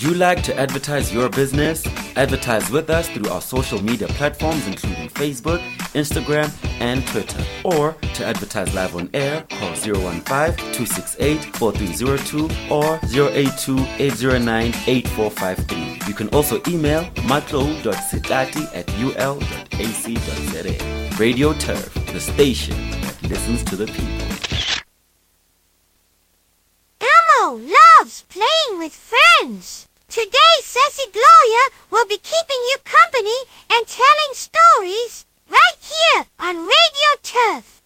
Would you like to advertise your business? Advertise with us through our social media platforms, including Facebook, Instagram, and Twitter. Or to advertise live on air, call 015 268 4302 or 082 809 8453. You can also email matlo.sitati at ul.ac.za. Radio Turf, the station that listens to the people. Elmo loves playing with friends. Today, Sassy Gloria will be keeping you company and telling stories right here on Radio Turf.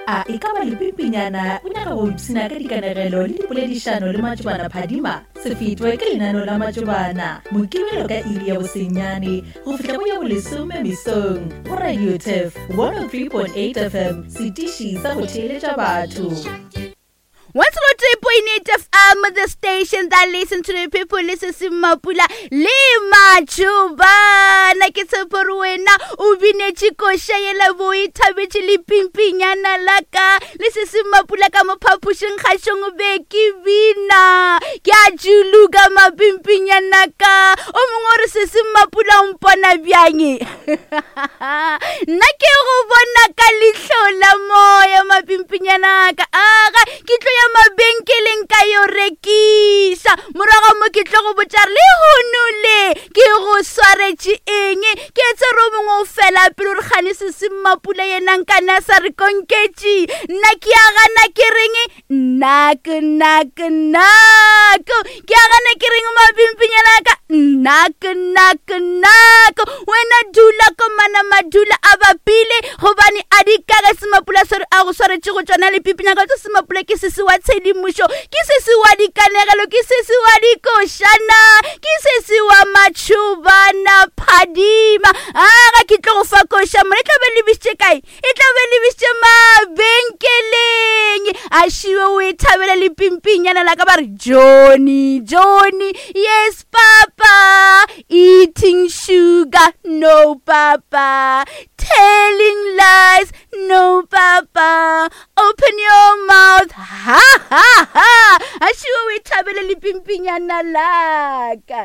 A e ka ba lepimpinyana o nyaka go ipshina ka dikanegelo le dipoledišano le matšobana phadima? Se fetwe ke lenaneo la matšobana Mokibelo ka iri ya bosenyane go fihla go ya bolesome mesong go Radio Turf 103.8 FM, setiši sa go theeletša batho. 103.8 FM, the station that listen to the people, listen to Mapula le Matšobana. Ke tshepo gore wena o binetše koša yela bo e thabetše le pimpinyana la ka le se se Mapula ka mo phapošing kgašong be ke bina ke a juluka mapimpinyana ka o mongwe o re se se Mapula o mpona bjang nna ke go bona ka leihlo la moya mapimpinyana ka aga ke tlo ya mabenkeleng ka yo rekiša morago mo ke tlo go botša re lehono le ke go swaretše eng ke etse re o mongwe o fela pele gore kgane se se mmapula yena nkane a sa re konketše nna ke a gana ke reng nnak nnak nnak ke a gana ke reng mapimpinyana ka nnak nnak nnak wena dula komana madula a bapile gobane a di kage semapula swere a go swaretše go tšona lepipinyaka tso semapula ke sese wa tshedimošo ke sese wa dikanegelo ke sese wa dikošana ke sese wa matšhobana phadima a ga ke tlo go fa koša mo e tla be lebišitše kae e tla be lebišitše mabenkeleng a šiwe o e thabela lepimpinyana la ka ba re johnny johnny yes papa eating sugar no papa telling lies no papa open your mouth ha ha ha a šiwe o e thabele lepimpinyana la ka.